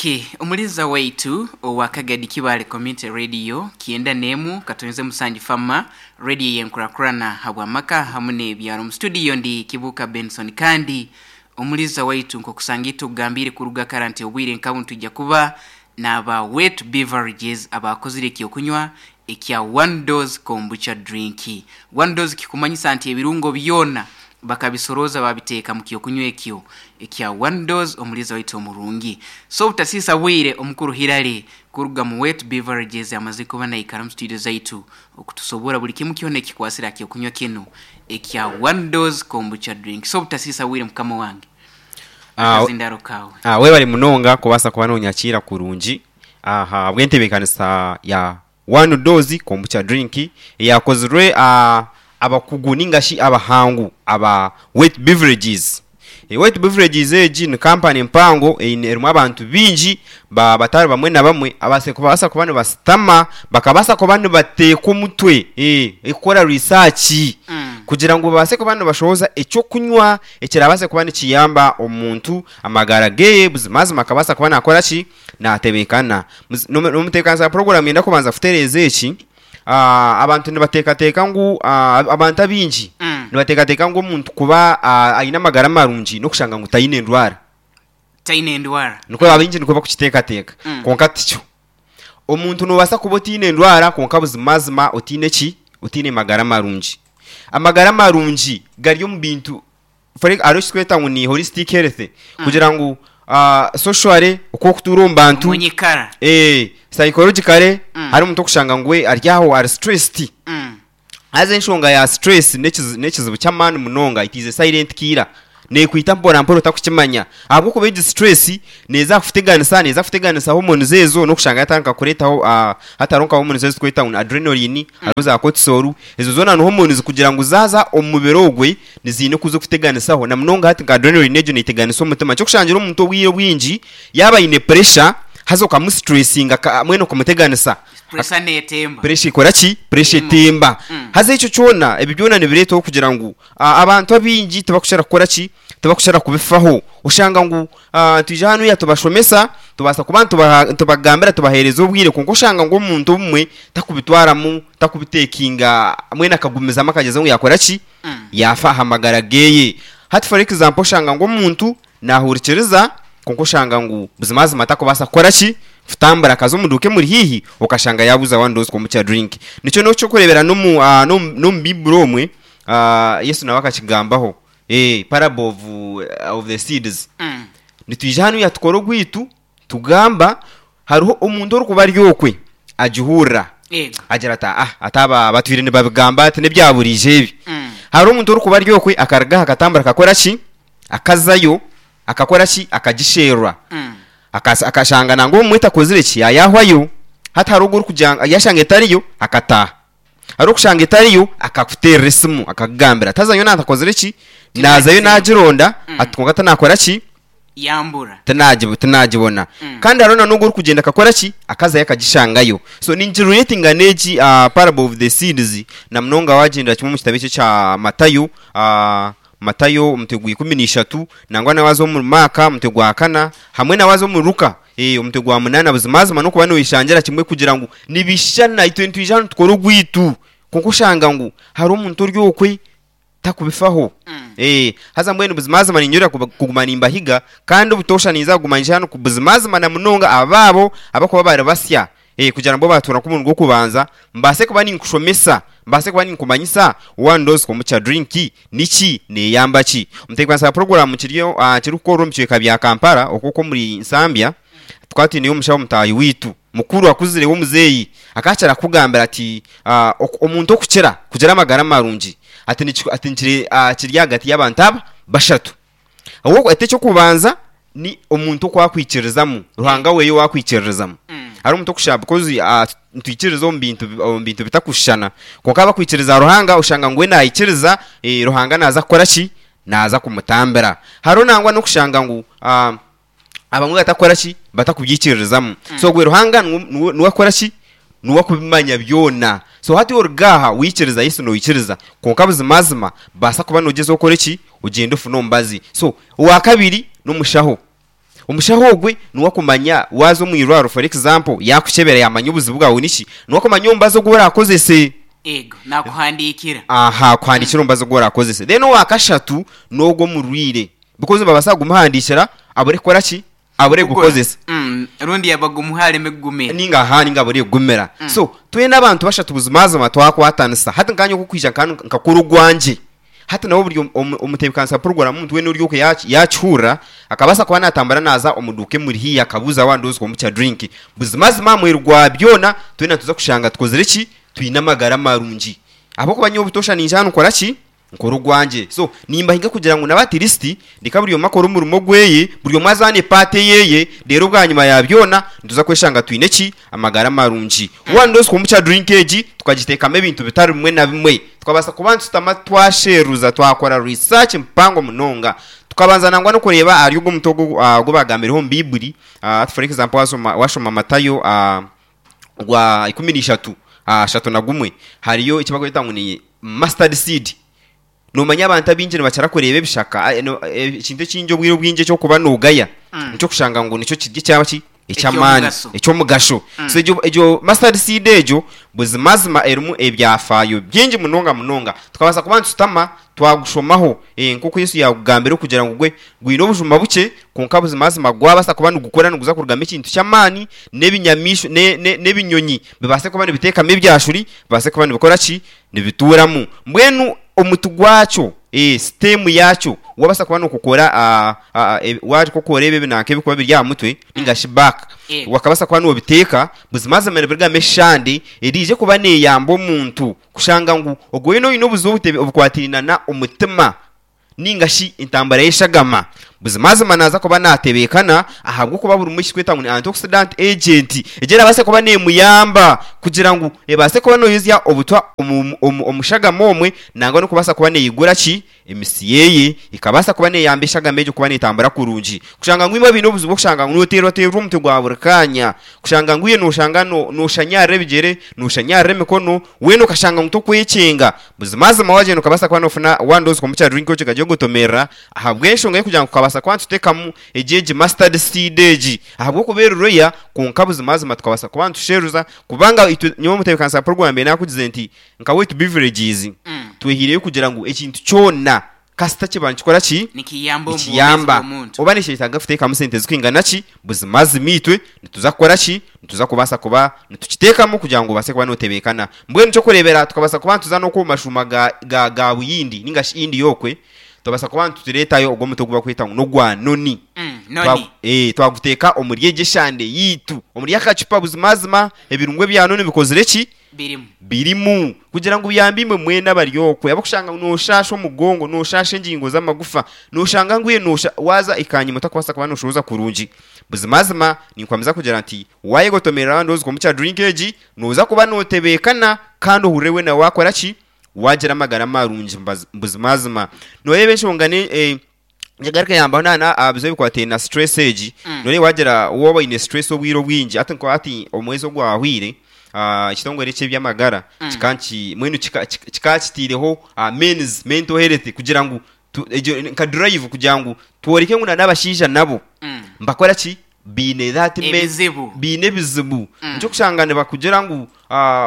Ok, omuliza waitu owa Kagadi Kibaale Community Radio kyenda n'emu katonze musanju fama radio y'enkurakurana habw'amaka hamu n'ebyaro. Omu studio ndi Kibuuka Benson kandi omuliza waitu nk'okusanga itwe okugambiire kuruga kara nti obwire nka bunu twija kuba n'aba Wet Beverages abaakozire eky'okunywa ekya One Dose Kombucha Drink. One Dose kikumanyisa nti ebirungo byona Bakabisorooza baabiteeka mu ky'okunywa ekyo ekya One Dose Omuliiza waitu omurungi. So obutasiisa bwire, Omukuru Hillary kuruga mu Wet Beverages amazire kuba naikara omu studio zaitu okutusoborra buli kimu kyona ekikwasire aha ky'okunywa kinu ekya One Dose Kombucha Drink. So obutasiisa bwire mukama wange, akazindaro kaawe. Webale munonga kubaasa kuba nonyakiira kurungi ahabw'entebeekanisa ya One Dose Kombucha Drink eyakozirwe abakugu ninga shi abahangu aba Wet Beverages. Wet Beverages egi ni kampani mpango eine erimu abantu baingi batari bamwe na bamwe ababaasa kuba nibasitama bakabaasa kuba nibateeka omutwe kukora research kugira ngu babaase kuba nibashohoza eky'okunywa ekirabaase kuba nikiyamba omuntu amagara ge buzimazima akabaasa kuba nakora ki? Naatebeekana. N'omutebeekanisa wa puroguraamu niinyenda kubanza kutereeza eki, Abantu nibateekateeka ngu, abantu abaingi nibateekateeka ngu omuntu kuba aine amagara marungi n'okushanga ngu taine ndwara. Taine ndwara. Nikwo abaingi nikwo barikukiteekateeka. Kwonka tikyo. Omuntu noobaasa kuba otaine ndwara kwonka buzimazima otaine ki? Otaine magara marungi. Amagara marungi gari omu bintu For hariho ekitweta ngu ni holistic health kugira ngu socially oku orikutuura omu bantu, Omu nyikara. psychologically hariho omuntu orikushanga ngu we ari aho ari stressed. Haza enshonga ya stress n'ekizibu ky'amaani munonga, it is a silent killer. Neekwita mpora mpora otarikukimanya ahabw'okuba egi stress neeza kukuteganisa, neeza kuteganisa hormones ezo n'okushanga yatandika kureetaho hatariho nka hormones ezi turikweta ngu ni adrenaline, hariho za cortisol, ezo zoona ni hormones kugira ngu zaaza omu mubiri ogwe niziine oku zirikuteganisaho na munonga hati nka adrenaline egyo neeteganisa omutima. Nikyo kushangira omuntu obwire obwingi yaaba aine puresha haza okamusituresinga mbwenu okamuteganisa, Puresha neetemba. puresha ekora ki? Puresha etemba. Haza ekyo kyona, ebyo byona nibireetaho kugira ngu abantu abaingi tibakukira kukora ki? Tibakukira kubifaho. Oshanga ngu twija hanuya tubashomesa, tubaasa kuba nitubagambira tubaheereza obwire kwonka oshanga ngu omuntu obumwe takubitwaramu, takubiteekinga mbwenu akagumizamu akagyezaho ngu yaakora ki? Yaafa aha magara geeye. Hati for example oshanga ngu omuntu naahurikiriza kwonka oshanga ngu buzimazima takubaasa kukora ki? Kutambura akaza omu duuka emuri haihi okashanga yaaguza one dose kombucha drink. Nikyo n'eky'okureebera n'omu n'omu Baiburi omwe Yesu nawe akakigambaho. Parable of, of the seeds. Nitwija hanuya tukore ogwaitu tugamba hariho omuntu orikuba ari okwe agihurira Yego. agira ati ah ati aba batwire nibabigamba ati n'ebya buriijo ebi. Hariho omuntu orikuba ari okwe akaruga aha akatambura akakora ki? Akazayo akakora ki? Akagisherura. Akashanga nangwa obumwe etakozire ki? Yaayahwayo. Hati hariho ogu orikugira ngu yaashanga etariyo akataaha. Hariho okushanga etariyo akakuteerera esimu akakugambira ati haza nyowe naatakozire ki? Naazayo naagironda ati kwonka tinaakora ki? Yambura. Tinaagibona. Kandi hariho n'ogu orikugyenda akakora ki? Akazayo akagishangayo. So ningiretinga n'egi parable of the seeds na munonga waagyendera kimwe omu kitabo eki ekya Matayo, Matayo omutwe gwa 13, nangwa na waaza omuri Maaka omutwe gwa kana, hamwe na waaza omuri Luka omutwe gwa munaana, buzimazima n'okuba noyeshangira kimwe kugira ngu nibishushana. Itwe nitwija hanu tukore ogwaitu, kwonka oshanga ngu hariho omuntu ori okwe takubifaho. Haza mbwenu buzimazima niinyurira kuguma nimbahiga, kandi obutoosha ninza kuguma nyija hanu buzimazima na munonga abaabo abarikuba bari basya. Kugira ngu bo baatuura nk'omurundi gw'okubanza, mbaase kuba ninkushomesa, mbaase kuba ninkumanyisa One Dose Kombucha Drink niki, neeyamba ki. Omutebeekanisa wa puroguraamu kiriyo kirikukorwa omu bicweka bya Kampala okwo okw'omuri Nsambya, tukaba twineyo omushaho mutaahi waitu mukuru akuzire w'omuzeeyi, akakira kukugambira ati omuntu okukira kugira amagara marungi ati kiri ahagati y'abantu aba bashatu. Ati eky'okubanza ni omuntu oku akwikiririzamu, Ruhanga weeye ou akwikiririzamu. Hariho omuntu okushaba because nitwikiririza omu bintu omu bintu bitakushushana. Kwonka abakwikiriza Ruhanga oshanga ngu we naikiriza Ruhanga naaza kukora ki? Naaza kumutambira. Hariho nangwa n'okushanga ngu abamwe batakukora ki? Batakubyikiririzamu. So ogwe Ruhanga niwe niwe akukora ki? Niwe akubimanya byona. So hati oruga aha waikiriza Yesu noikiriza, kwonka buzimazima baasa kuba nogyezaho okore ki? Ogyende ofune omubazi. So owa kabiri n'omushaho. Omushaho ogwe niwe akumanya waaza omu irwariro for example yaakukyebera yaamanya obuzibu bwawe niki, niwe akumanya omubazi ogu oraakozese. Ego, naakuhandiikira. Aha, akuhandiikira omubazi ogu oraakozese. Then owa kashatu n'ogwo omurwaire because nibabaasa kugumuhandiikira abure kukora ki? Abure Kugura. kugukozesa. Rundi yaaba gumuha areme kugumira. Ninga aha ninga abure kugumira. So twena abantu bashatu buzimazima twakwatanisa hati nkaanye oku kwija nkakora ogwangye. Hati nawe buri omutebeekanisa wa puroguraamu omuntu weena ori okwe yaakihurira, akabaasa kuba naatambura naaza omu duuka emuri haihi akabuuza waaba ndowooza omuca drink. Buzimazima aha muheru gwa byona, twena nituza kushanga tukozire ki? Twine amagara marungi. Ahabw'okuba nyowe butoosha niija hanu nkora ki? Nkora ogwangye. So, nimbahiga kugira ngu nabo at least reka buri omwe akore omurimo gweye, buri omwe azaane part eyeye, reero bwanyima ya byona, nituza kweshanga twine ki? Amagara marungi. Waaba nooza omuca drink egi, tukagiteekamu ebintu bitari bimwe na bimwe. Tukabaasa kuba nitushutama twasheruza twakora research mpango munonga. Tukabanza nangwa n'okureeba ahari ogwo muti ogu ogu baagambireho omu Baiburi, for example waashoma waashoma Matayo ogwa 13, 31, hariyo eki barikweta ngu ni mustard seed. Noomanya abantu abaingi nibakira kureeba ebishaka, ekintu ekingi obwire obwingi eky'okuba noogaya, nikyo kushanga ngu nikyo kiri ekyaba ki? Eky'amaani, Eky'omugasho. eky'omugasho. So egyo egyo mustard seed egyo buzimazima erimu ebyafaayo bingi munonga munonga. Tukabaasa kuba nitushutama twagushomaho nk'oku Yesu yaagugambire kugira ngu gwe gwine obujuma bukye kwonka buzimazima gwabaasa kuba nigukura niguza kurugamu ekintu ky'amaani n'ebinyamaishwa ne ne n'ebinyonyi bibaase kuba nibiteekama ebyashuri bibaase kuba nibikora ki? Nibituuramu. Mbwenu omuti gwakyo, stem yaakyo, wabaasa kuba nookukora waakukora ebi ebinanka ebirikuba biri aha mutwe ninga shi back, wakabaasa kuba noobiteeka, buzimazima nibirugamu eshande eriije kuba neeyamba omuntu kushanga ngu ogwo weena oine obuzibu obukwatiraine na omutima ninga shi entambara y'eshagama, buzimazima naaza kuba naatebeekana ahabw'okuba burimu ekirikwetwa ngu ni antioxidant agent, egyo erabaasa kuba neemuyamba kugira ngu ebaase kuba neeyozya obutwa omu omu omu shagama omwe nangwa n'okubaasa kuba neeyigura ki? Emisi yeeye ekabaasa kuba neeyamba eshagama egyo kuba neetambura kurungi. Kushanga ngu imwe abaine obuzibu bw'okushanga ngu nooteerwateerwa omutwe gwa buri kaanya, kushanga ngu iwe nooshanga nooshanyarira ebigyere, nooshanyarira emikono, weena okashanga ngu tokwekyenga, Buzimazima wagyenda okabaasa kuba nofuna one dose kwonka kya drink okigagye ogotomerera ahabw'enshonga y'okugira ngu tukabaasa kuba nitutekamu egi egi mustard seed egi ahabw'okuba eri rare kwonka buzimazima tukabaasa kuba nitusheruza kubanga itwe nyowe omutebeekanisa wa program nakugize nti nka Weight Beverages twehiireyo kugira ngu ekintu kyona Kasita kiba nikikora ki? Nikiyamba omu bwomeezi Nikiyamba. bw'omuntu. Oba nikyetaaga kuteekamu sente zirikwingana ki? Buzimazima itwe nituza kukora ki? Nituza kubaasa kuba nitukiteekamu kugira ngu obaase kuba nootebeekana. Mbwenu ky'okureebera tukabaasa kuba nituza n'oku omu mashuuma ga, ga, ga Buyindi nainga shi India okwe, twabaasa kuba nitureetayo ogwo omuti ogu barikweta ngu n'ogwa noni. Noni. Twa, ee, twaguteeka omuri egyo eshande yaitu, omuri akacupa buzimazima ebirungo ebya noni bikozire ki? Birimu. Birimu. Kugira ngu biyambe imwe mwena abari okwe, abarikushanga ngu nooshaasha omugongo, nooshaasha engingo z'amagufa, nooshanga ngu iwe noosha, waaza ekanyima otakubaasa kuba nooshohoza kurungi. Buzimazima, ninkwamiza kugira nti, waayegotomerera abandi ozi kwomuca drink egi, nooza kuba nootebeekana kandi ohurire weena waakora ki? Waagira amagara marungi buzimazima. Nooreeba enshonga ne, Nyegaruke yambaho na na aha bizibu ebikwataine na stress egi. Noreeba wagira waaba oine stress obwire obwingi hati nka hati omwezi ogwahweire ekitongore eky'eby'amagara kikaba niki mbwenu kika kikaba kitaireho men's mental health kugira ngu tu egyo nka drive kugira ngu tworeke ngu na n'abashaija nabo nibakora ki? Baine that men Ebizibu. baine ebizibu. Nikyo orikushanga nibakugira ngu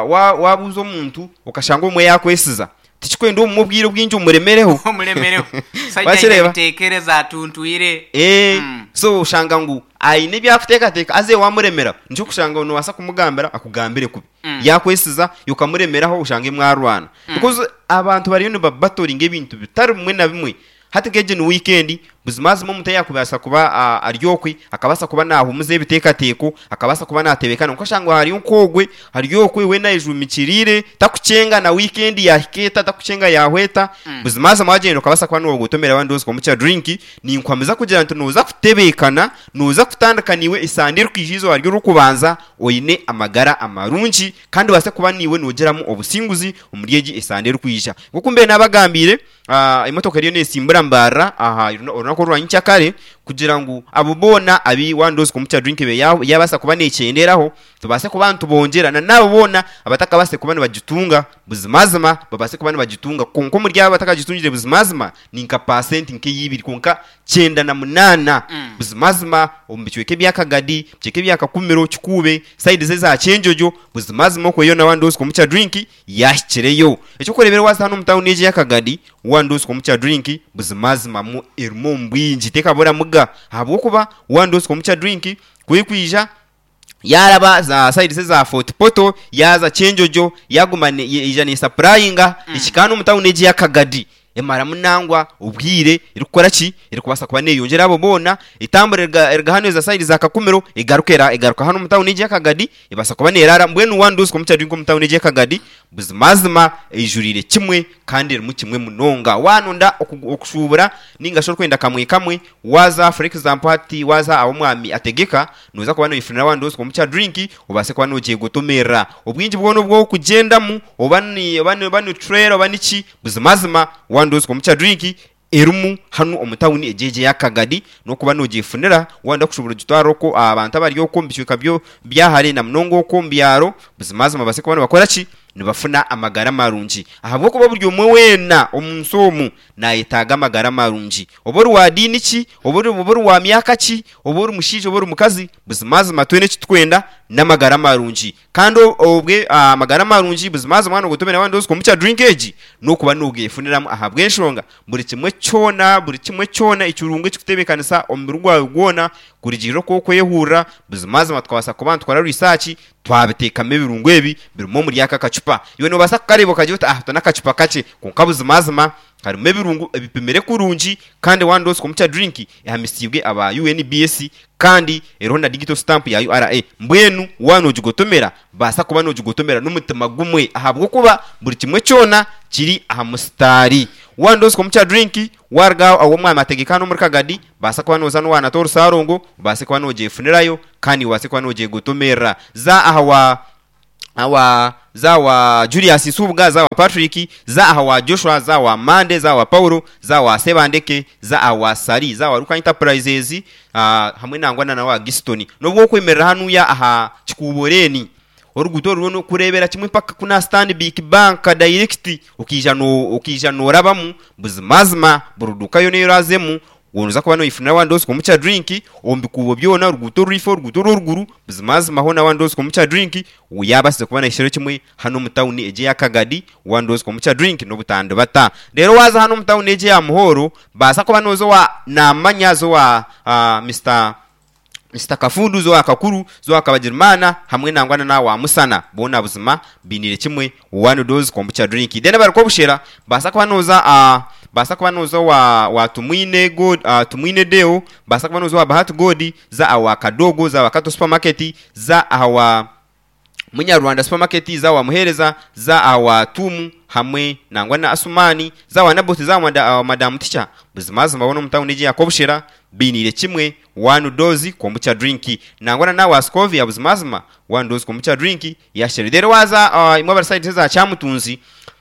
wa wabuuza omuntu okashanga obumwe yaakwesiza Tikikwenda obumwe obwire obwingi omuremereho. Omuremereho. Omushaija aine Wakireeba? ebitekerezo atuntwire. Ee, Mm. so oshanga ngu aine ebi arikuteekateeka haza iwe wamuremeraho. Nikyo orikushanga ngu noobaasa kumugambira akugambire kubi. Yaakwesiza iwe okamuremeraho oshange mwarwana. Because abantu bariyo nibabatoringa ebintu bitari bimwe na bimwe. Hati nk'egi ni wiikendi, buzimazima omuntu eyaakubaasa kuba ari okwe, akabaasa kuba naahumuza ebiteekateeko, akabaasa kuba naatebeekana, kwonka oshanga hariyo nk'ogwe ari okwe weena ayejuumikiriire, takukyenga na wiikendi yaahika eta, takukyenga yaahwa eta. Buzimazima waagyenda okabaasa kuba noogotomera abandi ozi kumucya drink, ninkuhamiza kugira nti nooza kutebeekana, nooza kutandika naiwe esande erikwija eizooba ry'orikubanza oine amagara amarungi kandi obaase kuba naiwe noogiramu obusinguzi omuri egi esande erikwija. Nk'oku mbaire naabagambiire, Emotoka eriyo neesimbura Mbarara aha orunaku. runaku orwa nyenkyakare kugira ngu abo boona abu One Dose Kombucha Drink ebe yaabaasa kuba neekyenderaho tubaase kuba nitubongyera na n'abo boona abatakabaasire kuba nibagitunga buzimazima babaase kuba nibagitunga. Kwonka omuri abo abatakagitungire buzimazima ni nka paasenti nk'eya ibiri kwonka 98 buzimazima omu bicweka ebya Kagadi, ebicweka ebya Kakumiro, Kikuube, sayidi z'eza Kyenjojo buzimazima okwo yoona One Dose Kombucha Drink Yaahikireyo. Eky'okureeberaho waaza hanu omu tauni egi eya Kagadi, One Dose Kombucha Drink buzimazima mu erimu omu bwingi tekaburamuga ahabw'okuba One Dose Kombucha Drink ku erikwija yaaraba za sayidi eza Fort Portal, yaaza Kyenjojo, yaaguma yaija neesapurayinga ekihika hanu omu tauni egi eya Kagadi. Emaramu nangwa obwire erikukora ki? Erikubaasa kuba neeyongyera abo boona, etambura eruga hanu eza sayidi za Kakumiro egaruka egaruka hanu omu tawuni egi eya Kagadi ebaasa kuba neeraara. Mbwenu One Dose Kombucha Drink omu tawuni egi eya Kagadi buzimazima eijuriire kimwe kandi erimu kimwe munonga. Waanonda okushuubura nainga shi orikwenda kamwe kamwe, waaza for example hati waaza ahu omwami ategeka, Nooza kuba noifunira One Dose Kombucha Drink obaase kuba noogyegotomerera. Obwingi bwona obu orikugyendamu, oba ni oba ni oba ni trailer oba niki, buzimazima One Dose Kombucha Drink erimu hanu omu tawuni egi egi eya Kagadi, n'okuba noogyefunira waayenda kushubura ogitware okwo aha bantu abari okwo omu bicweka byo bya hare na munonga okwo omu byaro, buzimazima babaase kuba nibakora ki? Nibafuna amagara marungi. Ahabw'okuba buri omwe weena omu nsi omu naayetaaga amagara marungi. Oba ori wa diini ki, oba ori oba ori wa myaka ki, oba ori mushaija oba ori mukazi, buzimazima twena eki turikwenda n'amagara marungi. Kandi obwe amagara marungi buzimazima waaba noogotomera waaba nooza kombucha drink egi, n'okuba noogeefuniramu ahabw'enshonga buri kimwe kyona, buri kimwe kyona ekirungo ekirikutebeekanisa omubiri gwawe gwona kurugiirira oku orikwehurira, buzimazima tukabaasa kuba nitukora research Twabiteekamu ebirungo ebi birimu omuri aka akacupa. Iwe noobaasa kukareeba okagira oti, Ah, aka n'akacupa kakye. Kwonka buzimazima karimu ebirungo ebipimire kurungi kandi One Dose Kombucha Drink ehamisiibwe aba UNBS kandi eriho na digital stamp ya URA. Mbwenu waaba noogigotomera, baasa kuba noogigotomera n'omutima gumwe ahabw'okuba buri kimwe kyona kiri aha musitaari. One Dose Kombucha Drink Waaruga ahu omwami ategeka hanu omuri Kagadi, baasa kuba nooza n'owaanata orusaarongo, obaase kuba noogyefunirayo kandi obaase kuba noogyegotomerera. Za aha wa aha wa za aha wa Julius Nsubuga, za aha wa Patrick, za aha wa Joshua, za aha wa Mande, za aha wa Paulo, za aha wa Sebandeke, za aha wa Sali, za aha wa Luka Enterprises, hamwe nangwa na wa Giston. N'obu okwemerera hanuya aha Kikuubo Lane, Oruguuto oru rwona okureebera kimwe mpaka kunu aha Stanbic Bank direct okaija okaija noorabamu, buzimazima buri duuka yoona ei oraazemu nooza kuba noifunira One Dose Kombucha Drink omu bikuubo byona, oruguuto orwifo, oruguuto orw'oruguru, buzimazima hoona One Dose Kombucha Drink yaabaasize kuba naahikirayo kimwe hanu omu tawuni egi eya Kagadi, One Dose Kombucha Drink n'obutandibata. Reero waaza hanu omu tawuni egi eya Muhoro, baasa kuba nooza owa Naamanya, za owa Mister Mister Kafundu, Zoa Kakuru, Zoa Kabagirimana hamwe nangwa na wa Musana boona buzima bainiire kimwe One Dose Kombucha Drink. Then abarikuba obushera baasa kuba nooza baasa kuba nooza owa wa Tumwine God Tumwine Deo, baasa kuba nooza owa Bahati God, za awa Kadogo, za awa Kato Supermarket, za awa Munyarwanda Supermarket, za wa Muheereza, za aha wa Tuumu hamwe nangwa na Asumani, za wa Naboth, za wa Madamu Ticha. Buzimazima boona omu tauni egi eya Kobushera bainiire kimwe One Dose Kombucha Drink. Nangwa na nawa Scovia buzimazima One Dose Kombucha Drink yasherire. Reero waaza imwe abari sayidi eza Kyamutunzi,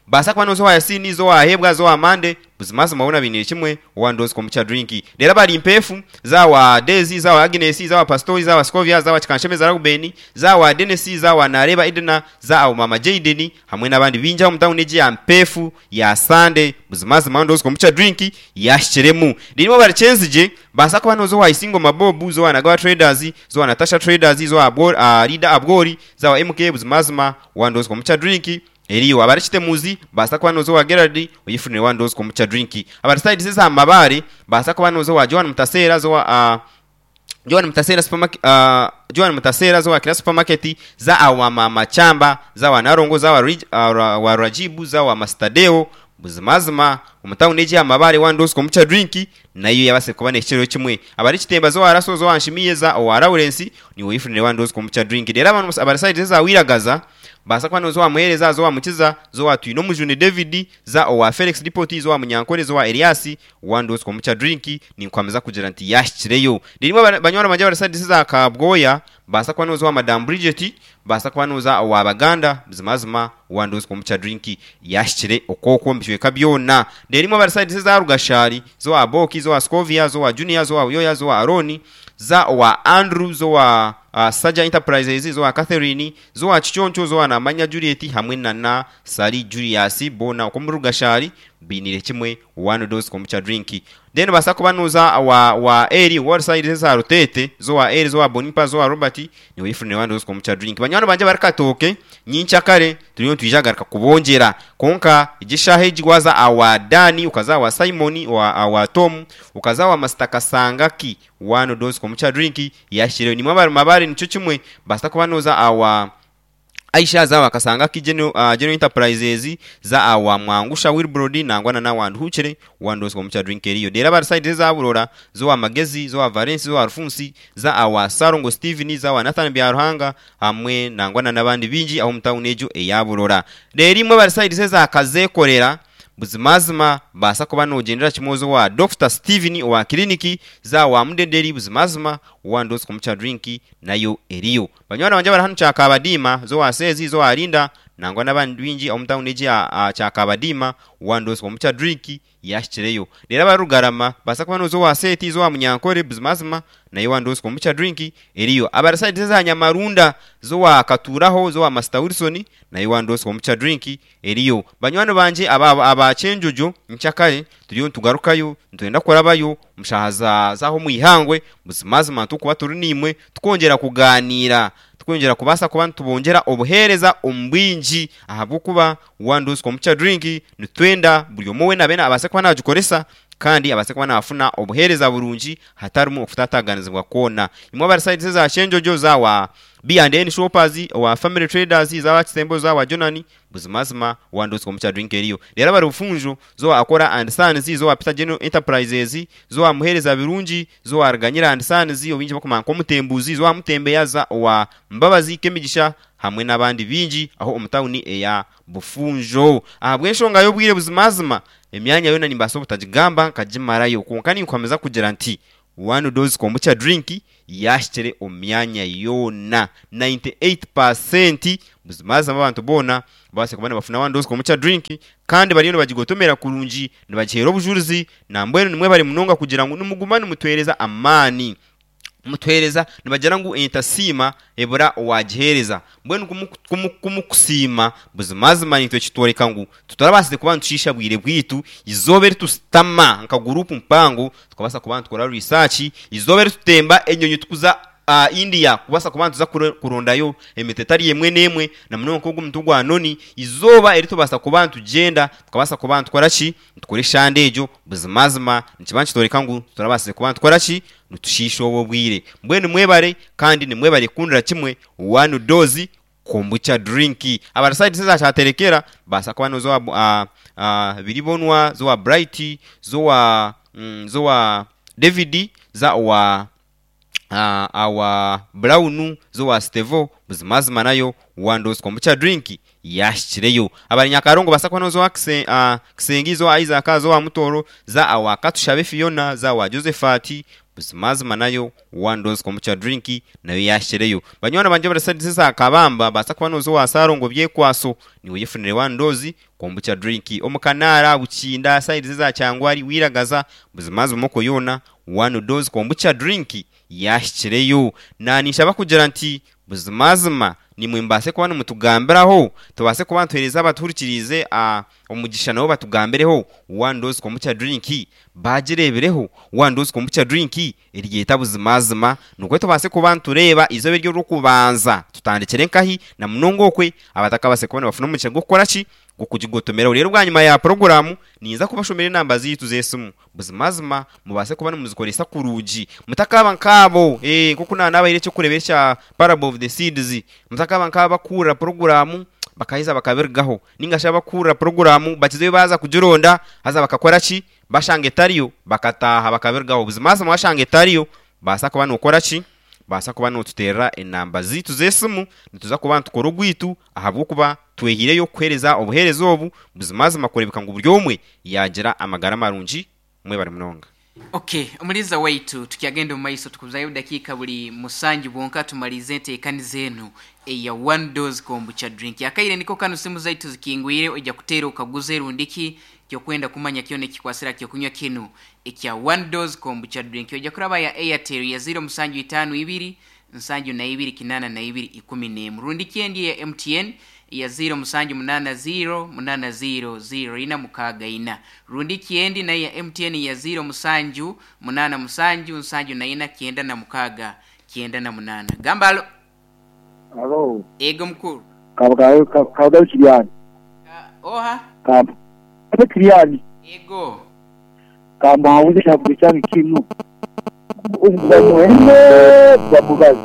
baasa kuba nooza owa Yasini, za owa Hebwa, za owa Mande, Buzimazima boona bainiire kimwe One Dose Kombucha Drink. Reero abari Mpeefu, za wa Daisy, za wa Agnes, za wa Pastori, za wa Scovia, za wa Kikanshemeza Reuben, za wa Dennis, za wa Nareeba Edna, za awo Maama Jayden hamwe n'abandi baingi aha omu tauni egi ya Mpeefu ya Sande. Buzimazima One Dose Kombucha Drink yaahikiremu. Reero imwe abari Kyenzigye, baasa kuba nooza owa Isingoma Bob, za owa Nagawa Traders, za owa Natasha Traders, za owa Leader Abwori, za wa MK, buzimazima One Dose Kombucha Drink Eriyo abari Kitemuzi baasa kuba nooza owa Gerald oyefunire One Dose Kombucha Drink. Abari sayidi z'eza Mabaare baasa kuba nooza owa Joan Mutaseera za owa Joan Mutaseera Supermarket Joan Mutaseera za owa Kira Supermarket, za awa Maama Chamba, za owa Nalongo, za owa Rajibu, za owa Master Deo. Buzimazima omu tawuni egi eya Mabaare One Dose Kombucha Drink nayo yabaasire kuba nehikireho kimwe. Abari Kitemba za owa Raso, za owa Nshimiye, za owa Lawrence niiwe oyefunire One Dose Kombucha Drink. Reero abantu abari sayidi z'eza Wiragaza Baasa kuba nooza owa Muheereza, za owa Mukiza, za owa Twinomujuni David, za owa Felix Dipoti, za owa Munyankore, za owa Elias, One Dose Kombucha Drink, ninkuhamiza kugira nti yaahikireyo. Reero imwe banywani bangye abari sayidi za Kabwoya, Baasa kuba nooza owa Madam Bridget, baasa kuba nooza owa Baganda, buzimazima one dose kombucha drink yaahikire okwo omu bicweka byona. Reero imwe abari sayidi z'eza Rugashari, z'owa Boki, z'owa Scovia, z'owa Junior, z'owa Buyoya, z'owa Arooni, za owa Andrew, z'owa Saja Enterprises, z'owa Catherine, z'owa Kiconco, z'owa Namanya Juliet hamwe na na Ssali Julius boona okwo omuri Rugashari bainiire kimwe one dose kombucha drink. Then nobaasa kuba noza owa owa Eli owa ori side eza Ruteete, z'owa Eli, z'owa Bonipa, z'owa Robert, niiwe oyefunire one dose kombucha drink. Banywani bangye abari Katooke, nyenkyakare turiyo nitwija kugaruka kubongyera. Kwonka egi eshaaha egi waaza awa Dan, okaza awa Simon, owa awa Tom, okaza awa Masita Kasangaki, one dose kombucha drink yahikireyo. Naimwe abari Mabare nikyo kimwe, baasa kuba noza awa Aisha za awa Kasangaki General, General Enterprises, za awa Mwangusha Wilbrod nangwa na n'awa Nduhukire one dose kombucha drink eriyo. Reero abari side eza Burora, z'owa Magezi, z'owa Valence, z'owa Rufunsi, za awa Ssalongo Steven, za awa Nathan Byaruhanga hamwe nangwa na n'abandi baingi ab'omu tawuni egyo eya Burora. Reero imwe abari side eza Kazekorera, Buzimazima baasa kuba noogyendera kimwe oze owa Dokita Steven owa kiriniki, za owa Mudederi buzimazima one dose kombucha drink nayo eriyo. Banywani bangye abari hanu Kyakabadiima, z'owa Seezi, z'owa Linda, nangwa n'abandi baingi ab'omu tauni egi ya Kyakabadiima, one dose kombucha drink yaahikireyo. Reero abari Rugarama, baasa kuba nooza owa Seeti, z'owa Munyankore, buzimazima nayo one dose kombucha drink eriyo. Abari sayidi z'eza Nyamarunda, z'owa Katuuraho, z'owa Masita Wilson, nayo one dose kombucha drink eriyo. Banywani bangye aba aba Kyenjojo, nkyakare turiyo nitugarukayo, nitwenda kurabayo omu shaaha za z'aha omu ihangwe, buzimazima nitukuba turi naimwe tukwongyera kugaaniira, tukwongyera kubaasa kuba nitubongyera obuheereza omu bwingi ahabw'okuba one dose kombucha drink nitwenda buri omwe weena abe abaase kuba naagikoresa kandi abaase kuba naafuna obuheereza burungi hatarimu okutaataaganizibwa kwona. Imwe abari sayidi eza Kyenjojo, za wa B&N Shoppers, owa Family Traders, za wa Kisembo, za wa Jonani, Buzimazima wandotswa omu kyadrink eriyo. Reero abari Bufunjo, zo Akora and Sons, zo wa Peter General Enterprises, zo wa Muheereza Birungi, zo wa Ruganyira and Sons, ou baingi barikumanya nk'Omutembuzi, zo wa Mutembeya, za owa Mbabazi Kemigisha hamwe n'abandi baingi aho omu tauni eya Bufunjo. Ahabw'enshonga y'obwire buzimazima emyanya yoona nimbaasa obutagigamba nkagimarayo kwonka ninkuhamiza kugira nti One dose kombucha drink yaahikire omu myanya yoona 98% buzimazima abantu boona babaase kuba nibafuna one dose kombucha drink kandi bariyo nibagigotomera kurungi nibagiheera obujurizi nambwenu nimwebare munonga kugira ngu nimuguma nimutuheereza amaani mutuheereza nibagira ngu entasiima ebura owaagiheereza mbwenu ku mukusiima buzimazima naitwe kitworeka ngu Titurabaasize kuba nitushiisha bwire bwaitu eizooba eri tusitama nka guruupu mpango tukabaasa kuba nitukora risaaki, eizooba eri tutemba enyonyi turikuza India kubaasa kuba nituza kurondayo emiti etari emwe n'emwe na munonga nk'ogu omuti gwa noni, eizooba eri tubaasa kuba nitugyenda tukabaasa kuba nitukora ki? Nitukora eshande egyo, buzimazima nikiba nikitworeka ngu titurabaasize kuba nitukora ki? Nitushiisha obwo obwire. Mbwenu mwebare kandi nimwebare kukundira kimwe One Dose Kombucha drink. Abari side eza Kyaterekera baasa kuba noza owa Biribonwa, za owa Bright, za owa za owa David, za owa owa Brown, za owa Stevo, buzimazima nayo one dose kombucha drink yaahikireyo. Abari Nyakarongo baasa kuba noza owa Kisengi, za owa Isaac, za owa Mutooro, za owa Katushabe Fiona, za owa Josephat, Buzimazima nayo one dose kombucha drink nayo yahikireyo. Banywani bangye abari side za Kabamba baasa kuba noza owa Sarongo Byekwaso niiwe oyefunire one dose kombucha drink. Omu Kanaara, Bukinda, side eza Kyangwari, Wiragaza buzimazima okwo yoona one dose kombucha drink yahikireyo. Naninshaba kugira nti buzimazima Naimwe mubaase kuba nimutugambiraho, tubaase kuba nituheereza abatuhurikiriize omugisha nabo batugambireho One Dose Kombucha Drink baagireebireho. One Dose Kombucha Drink eryeta buzimazima nikwo tubaase kuba nitureeba eizooba eryo ery'okubanza tutandikire nkahi na munonga okwe abatakabaasire kuba nibafuna omugisha gw'okukora ki? Gw'okugigotomeraho. Reero bwanyima ya puroguraamu ninza kubashomera enamba zaitu z'esimu. Buzimazima mubaase kuba nimuzikoresa kurungi. Mutakaaba nk'abo, ee, nk'oku naanabaire eky'okureebera ekya Parable of the Seeds, mutakaaba nk'abo abakuhurira puroguraamu bakaheza bakabirugaho, nainga shi abakuhurira puroguraamu bakizayo baaza kugironda haza bakakora ki? Bashanga etariyo bakataaha bakabirugaho. Buzimazima waashanga etariyo, baasa kuba nookora ki? Baasa kuba nootuteerera enamba zaitu z'esimu, nituza kuba nitukora ogwaitu ahabw'okuba Twehaireyo kukuheereza obuheereza obu buzimazima kureebeka ngu buri omwe yaagira amagara marungi. Mwebare munonga. Okay, omuliza waitu tukyagenda omu maiso tukuzayo dakiika buli musanju bwonka tumalize enteekaniza enu eya one dose kombucha drink. Akaire niko kanu simu zaitu zikingwire ojja kuteera okaguze rundiki kyokwenda kumanya kyona ekikwasira kyokunywa kinu ekya one dose kombucha drink. Ojja kuraba ya Airtel ya 0752 72 82 11. Rundiki endi eya MTN ya 0780 80 0464. Rundiki endi nayo ya MTN ya 07 87 74 96 98. Gamba alo. Alo, Ego mukuru. Kabugabe Kiriani. Oha? Kabugabe Kiriani. Ego. Kamuhawuze kyakunywa kyange kinu. Bamuhene bamubazi.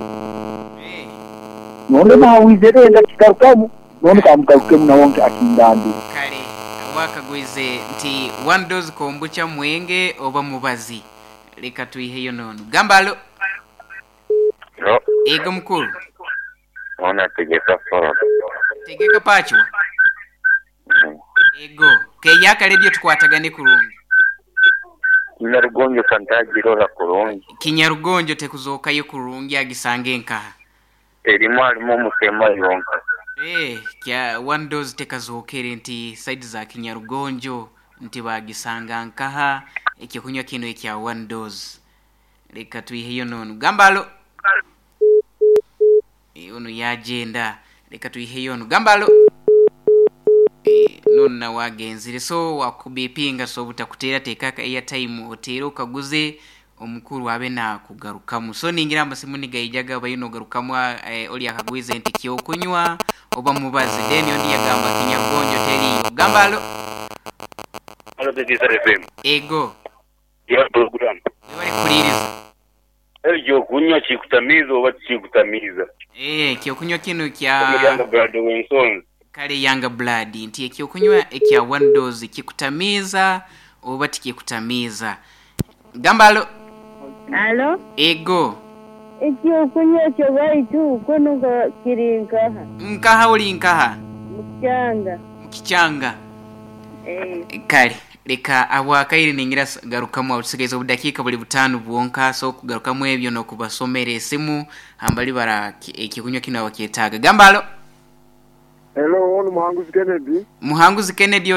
None muhawize renda kikarukamu none kamugarukemu nawe akindambi. Kale wakagwize nti one dose kombucha mwenge oba mubazi. Leka tuiheyo nono. Gamba alo. No, Ego mukuru. ona tegeka foro. Tegeka pachwa. Ego. Keyaka radio tukwatagane kurungi. Kinyarugonjo kantagirora kurungi. Kinyarugonjo tekuzookayo kurungi agisange nkaha. Erimu alimu omutema yonka. Kya one dose tekazookere nti side za Kinyarugonjo nti bagisanga nkaha ekyokunywa kino ekya one dose. Leka tuiheyo nono. Gamba alo. Ono yagenda. Leka tuiheyo ono. Gamba alo. Nonna wagenzire so wakubipinga so butakuteera teekaka airtime oteere okaguze omukuru abe nakugarukamu. So ningira amasimu nigaijaga bayo nogarukamu oli akagwize nti kyokunywa oba mubazi. Then ondi yagamba Kinyarugonjo teriyo. Gamba alo. Alo Tegesa FM. Ego. Ya program. Webale kukuliriza. Ekyokunywa kikutamiiza oba tikikutamiiza? Ekyokunywa kino kya Younger blood w'ensonzi. Kale younger blood nti ekyokunywa ekya one dose kikutamiiza oba tikikutamiiza. Gamba alo. Alo? Ego. Ekyokunywa ekyo baitu kono nga kiri nkaha? Nkaha oli nkaha? Mukikyanga. Mukikyanga. Kale leka abwakaire ningira garukamu aho tusigaze obudakiika buli butaano bwonka so kugarukamu ebyo n'okubasomera esimu hambali bara ekyokunywa kino abakyetaaga. Gamba alo. Hello, ono Muhanguzi Kennedy. Muhanguzi Kennedy.